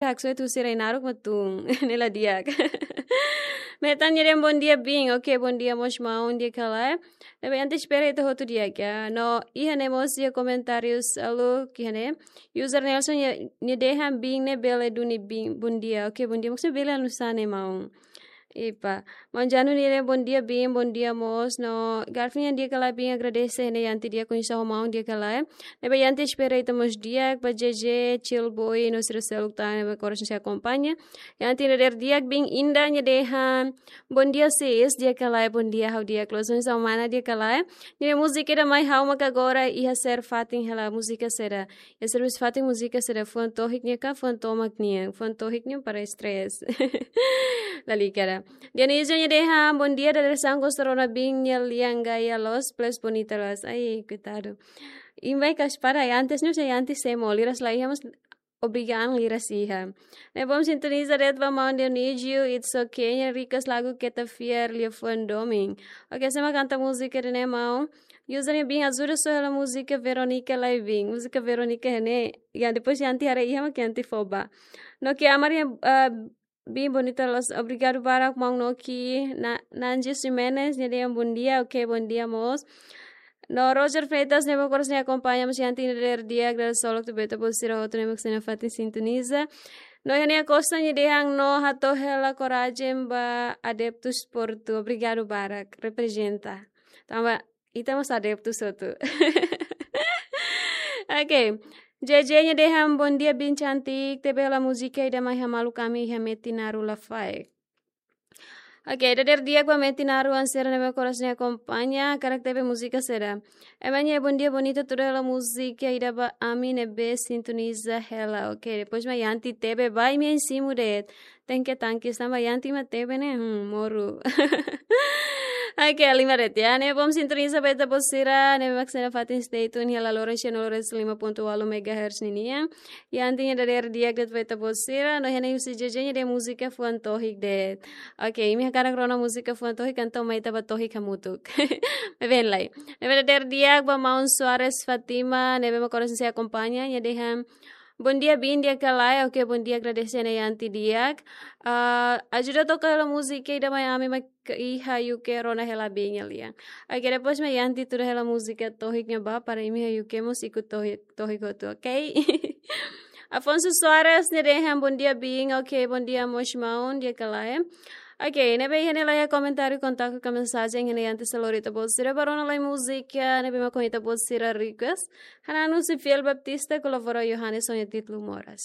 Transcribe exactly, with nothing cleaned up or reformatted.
Haksoit husi rai naruk mak tun. Ne'e la di'ak. Metan nia dehan bondia biin. Oke, bondia mós maun, di'ak ka lae? Ne'ebé ita espera ita hotu di'ak. Iha ne'e mós iha komentáriu seluk iha ne'e. User Nelson nia, nia dehan biin ne'e bele duni biin. Bondia. Oke, bondia. Maksudnya bele anu sá ne'e maun. Epa. Maun Janu nia dehan bondia biin, bondia mós. No Garfinha, di'ak ka lae biin, agradese ne'e Yanti di'ak, koñese ho maun, di'ak ka lae? Ne'ebé Yanti espera ita mós di'ak, ba J J, Chill Boy, no sira seluk tan ne'ebé koras sei akompaña. Yanti nia dadeer di'ak. Biin Inda nia dehan bondia sis, di'ak ka lae? Bondia, ha'u di'ak. Loos ona mana, di'ak ka lae? Nia múzika ida mai ha'u maka agora iha sira fatin hela, múzika saida? Iha sira fatin múzika saida? Fuan tohik nian ka fuan tomak nian? Fuan tohik nian para stress. Lalika ida. Dionísio nia dehan bondia, dadeer-saan gosta rona biin nia lian gaya loos plus bonita loos. Ai, koitadu. Imi bainhira para antes ne'e, se antes se mo liras la iha, mas obrigada liras iha. Ne'e bom sintoniza de'it ba maun Dionísio, it's okay. Nia request lagu Keta Fiar, liafuan domin. Oke, sé mak kanta múzika ida-ne'e maun? User nia biin, ajuda só hela múzika Veronica lai biin. Múzika Veronica ne'e, ya, depois Yanti haree iha mak Yanti fó ba. Noki Amar nia, ah, biin, bonita loos, obrigadu barak maun Noki. Na, Nanji Ximenes nia dehan bondia, oke, bondia mós. No Roger Freitas ne'ebé koras sei akompaña, mós Yanti nia dadeer di'ak, dadeer-saan loos ba ita-boot sira hotu ne'ebé mak sei nafatin sintoniza. No Yania Costa nia dehan no hato'o hela korajen ba adeptus Portu. Obrigadu barak, reprezenta. Tanba ita mós adeptus hotu. Oke. J J nia dehan bondia biin cantik, tebe hela múzika ida mai hamaluk ami iha Metinaru Lafaek. Oke, dadeer di'ak ba Metinaru an sira ne'ebé koras sei akompaña, hakarak tebe múzika saida? Ema nia bondia bonita, tuda hela múzika ida ba ami ne'ebé sintoniza hela. Oke, depois mak Yanti tebe ba imi-nia simu de'it. Tenke tanki sama Yanti mak tebe ne'e, hmm, moru. Oke, halimar de'it ya. Ne'e bom sintoniza ba ita-boot sira ne'ebé mak sei nafatin stay tune iha Laloran cem nol resin lima ponto walu megahertz ninian. Yanti nia dadeer di'ak de'it ba ita-boot sira, no iha ne'e husi J J nia dehan múzika fuan tohik de'it. Oke, imi hakarak rona múzika fuan tohik, entaun mai ita bá tohik hamutuk. Maibé lae. Ne'ebé dadeer di'ak ba maun Soares Fatima, ne'ebé mak koras sei akompaña, nia dehan bondia biin, di'ak ka lae? Oke, bondia, agradese ona Yanti di'ak. Ah, ajuda toka hela múzika ida mai ami mak iha U K, rona hela biin nia lian. Oke, depois mak Yanti tuda hela múzika tohik nian ba para imi iha U K mós ikut tohik, tohik hotu, oke? Afonso Soares nia dehan bondia biin, oke, bondia mós maun, di'ak ka lae? Oke, ne'ebé iha ne'e laiha komentáriu, kontaktu ka mensajen iha ne'e, Yanti sei lori ita-boot sira bá rona lai múzika ne'ebé mak ita-boot sira request. Hananu husi Fiel Baptista, kolabora Yohanes ho nia títulu Moras.